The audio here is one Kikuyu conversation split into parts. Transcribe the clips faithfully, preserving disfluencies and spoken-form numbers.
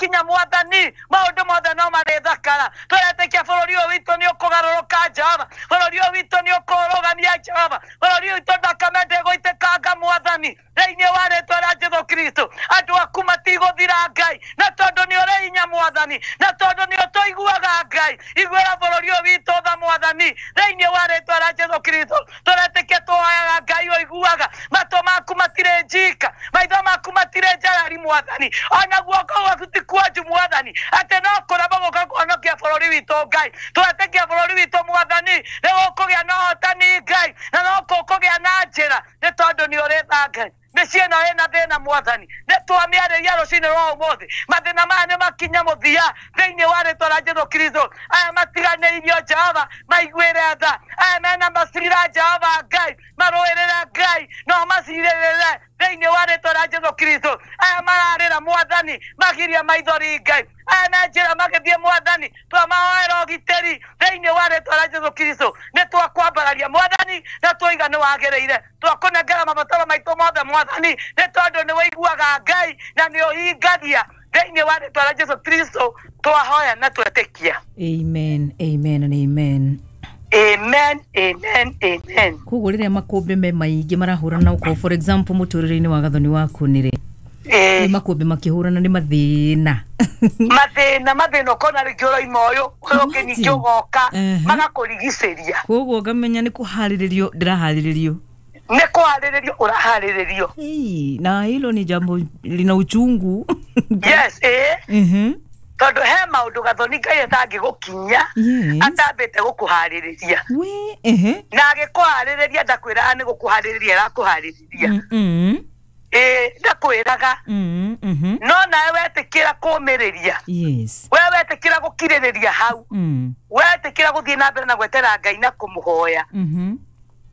makinya mwathani maundu mothe no marĩthakara. Tũretĩkia bũrũri ũyũ witũ nĩ ũkũgarũrũka Jehova, bũrũri ũyũ witũ nĩ ũkũrũgamia Jehova, bũrũri ũyũ witũ thakame ndĩgũitĩkanga mwathani thĩinĩ wa rĩtwa rĩa Jesũ Kristo. Andũ aku matigũthira Ngai, na tondũ nĩ ũrĩ hinya mwathani, na tondũ nĩ ũtũiguaga Ngai, iguĩra bũrũri ũyũ witũ tha mwathani thĩinĩ wa rĩtwa rĩa Jesũ Kristo. Tũretĩkia tũhoyaga Ngai ũiguaga, matũ maku matirĩ njika, maitho maku matirĩ njarari mwathani, ona guoko gwaku ti kuonju mwathani, atĩ no kũrema gũka kũhonokia bũrũri witũ Ngai. Tũretĩkia bũrũri witũ mwathani nĩ gũkũgĩa na ũhotani Ngai, na no gũkũgĩa na njĩra nĩ tondũ nĩ ũrĩ tha Ngai. Mĩciĩ ĩno ĩna thĩna mwathani, nĩ twamĩarĩria rũcinĩ rwa ũmũthĩ, mathĩna maya nĩ makinya mũthia thĩinĩ wa rĩtwa rĩa Jesũ Kristo. Aya matiganĩirio Jehova maiguĩre tha, aya mena macira Jehova Ngai marũĩrĩre Ngai no macirĩrĩre thĩinĩ wa rĩtwa rĩa Jesũ Kristo. Aya mararĩra mwathani magiria maithori Ngai, aya me njĩra magĩthiĩ mwathani twamahoera ũgitĩri thĩinĩ wa rĩtwa rĩa Jesũ Kristo. Nĩ twakwambararia mwathani na twaiga nĩ wagĩrĩire, twakũnengera mabataro maitũ mothe mwathani nĩ tondũ nĩ wĩiguaga Ngai na nĩ ũhingagia thĩinĩ wa rĩtwa rĩa Jesũ Kristo. Twahoya na twetĩkia. Amen, amen and amen. Amen, amen, amen. Koguo rĩrĩa makũmbĩ me maingĩ marahũrana ũkorwo for example mũtũrĩre-inĩ wa Gathoni waku nĩ rĩ, Eh, nĩ makũmbĩ makĩhũrana nĩ mathĩna mathĩna mathĩna ũkona rĩngĩ ũroima ũyũ ũyũ ũngĩ ningĩ Imagine. ũgoka Ehe. magakũrigicĩria. Koguo ngamenya nĩ kũharĩrĩrio ndĩraharĩrĩrio. Nĩ kũharĩrĩrio ũraharĩrĩrio. Hey, na hilo ni jambo lina uchungu. Yes, eh Mhm. tondũ he maũndũ Gathoni Ngai atangĩgũkinya Yes. atambĩte gũkũharĩrĩria. We, ehe. Na agĩkũharĩrĩria ndakwĩraga nĩ gũkũharĩrĩria arakũharĩrĩria. Mm-mm. Ĩĩ ndakwĩraga. Mm, mhm. No nawe wetĩkĩra kũmĩrĩria, Yes. we wetĩkĩra gũkirĩrĩria hau, Mm. wetĩkĩra gũthiĩ na mbere na gwetera Ngai na kũmũhoya, Mhm.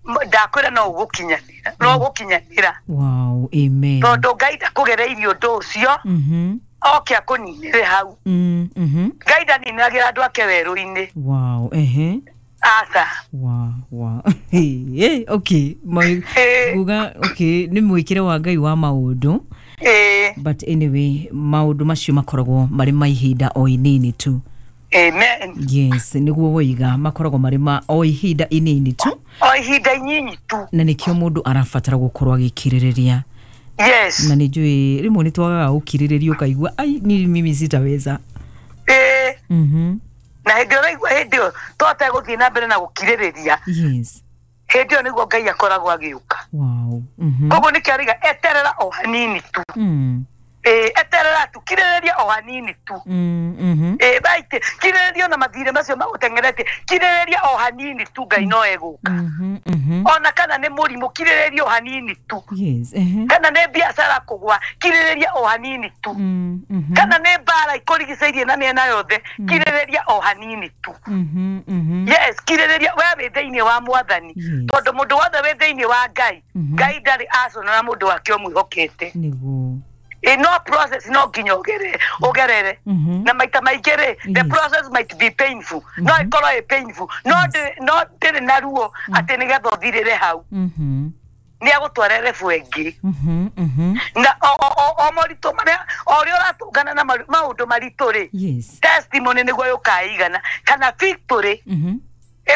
M- ndakwĩra no ũgũkinyanĩra, no ũgũkinyanĩra. Wow, amen. Tondũ Ngai ndakũgereirie ũndũ ũcio Mhm. oke akũninĩre hau. Mm, mhm. Ngai ndaninagĩra andũ ake werũ-inĩ. Wow, ehe. Aca. Wow, wow. Hey, hey, okay. Ma Ĩĩ. nguga okay, nĩ mwĩkĩre wa Ngai wa maũndũ. Ĩĩ. But anyway, maũndũ macio makoragwo marĩ ma ihinda o inini tu. Amen. Yes, nĩguo woiga makoragwo marĩ ma o ihinda inini tu. O ihinda inyinyi tu. Na nĩkĩo mũndũ arabatara gũkorwo agĩkirĩrĩria. Yes. Na nĩ njũĩ rĩmwe nĩ twagaga gũkirĩrĩria ũkaigua ai ni mimi sitaweza. Ĩĩ. Mhm. Na hĩndĩ ĩyo ũraigua hĩndĩ ĩyo twategũthiĩ na mbere na gũkirĩrĩria, Yes. hĩndĩ ĩyo nĩguo Ngai akoragwo agĩũka. Wow. Mhm. Koguo nĩkĩo arauga eterera o hanini tu. Mm. Ĩĩ eterera tu, kirĩrĩria o hanini tu. Mm, mhm. Ĩĩ baite kirĩrĩria ona mathirĩ macio magũteng'eretie, kirĩrĩria o hanini tu Ngai no egũka. Mhm, mhm. Ona kana nĩ mũrimũ, kirĩrĩria o hanini tu. Yes. Ehe. Kana nĩ biacara kũgwa, kirĩrĩria o hanini tu. Mm, mhm. Kana nĩ mbara ikũrigicĩirie na mĩena yothe, kirĩrĩria o hanini tu. Mhm, mhm. Yes, kirĩrĩria we wĩ thĩinĩ wa mwathani. Yes. Tondũ mũndũ wothe wĩ thĩinĩ wa Ngai, Mhm. Ngai ndarĩ aconora mũndũ wake ũmwĩhokete. Nĩguo. Ĩ no process no nginya ũgere ũgerere. Mhm. Na maita maingĩ rĩ, the Yes. process might be painful. No ĩkorwo ĩ painful. No ndĩ- no ndĩrĩ na ruo atĩ nĩgetha ũthirĩre hau. Mhm. Nĩ agũtwara level ĩngĩ. Mhm, mhm. Na o o o o moritũ marĩa o ũrĩa ũratũngana na maru- maũndũ maritũ rĩ, Yes. testimony nĩguo yũkaigana kana victory Mhm.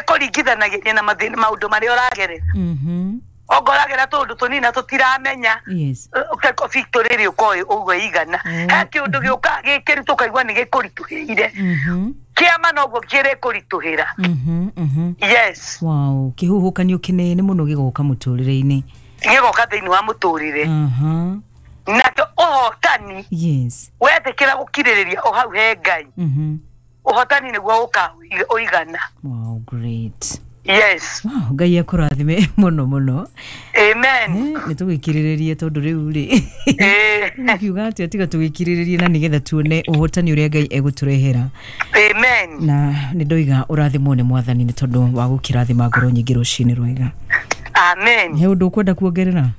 ĩkũringithanagĩria na mathĩna maũndũ marĩa ũragerera. Mhm. Ongorwo ũragera tũũndũ tũnini na tũtiramenya, Yes. ũkeko victory ĩrĩ ũkorwo ũguo ĩigana. Mm. He kĩũndũ gĩũkaga gĩkĩritũ ũkaigua nĩ gĩkũritũhĩire, Mhm. kĩama noguo kĩrĩkũritũhĩra. Mhm, mhm. Yes. Wow, kĩhuhũkanio kĩnene mũno gĩgoka mũtũrĩre-inĩ. Gĩgoka thĩinĩ wa mũtũrĩre. Aha. Nakĩo ũhotani Yes. wetĩkĩra gũkirĩrĩria o hau he Ngai, Mhm. ũhotani nĩguo ũka ũigana. Wow, great. Yes. Wow, Ngai akũrathime mũno mũno. Amen. Eh, nĩ tũgĩkirĩrĩrie tondũ rĩu rĩ Ĩĩ. ngiuga atĩa tiga tũgĩkirĩrĩrie na nĩgetha tuone ũhotani ũrĩa Ngai egũtũrehera. Amen. Na nĩ ndoiga ũrathimwo nĩ mwathani nĩ tondũ wa gũkĩrathima ngoro nyingĩ rũcinĩ rwega. Amen. He ũndũ ũkwenda kuongerera?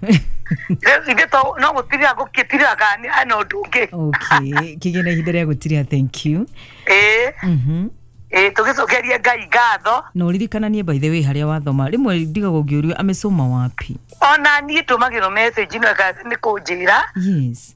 Rĩu ithuĩ to no gũtirira gũkĩtirira kana hena ũndũ ũngĩ. Okay, kĩgĩe na ihinda rĩa gũtiria, thank you. Ĩĩ. Mhm. Ĩĩ tũgĩcokeria Ngai ngatho. Na ũririkananie by the way harĩa wathoma rĩmwe ndigagwo ngĩũrio amesoma wapi. Ona niĩ ndũmagĩrwo message no ĩka nĩ kũnjĩra. Yes.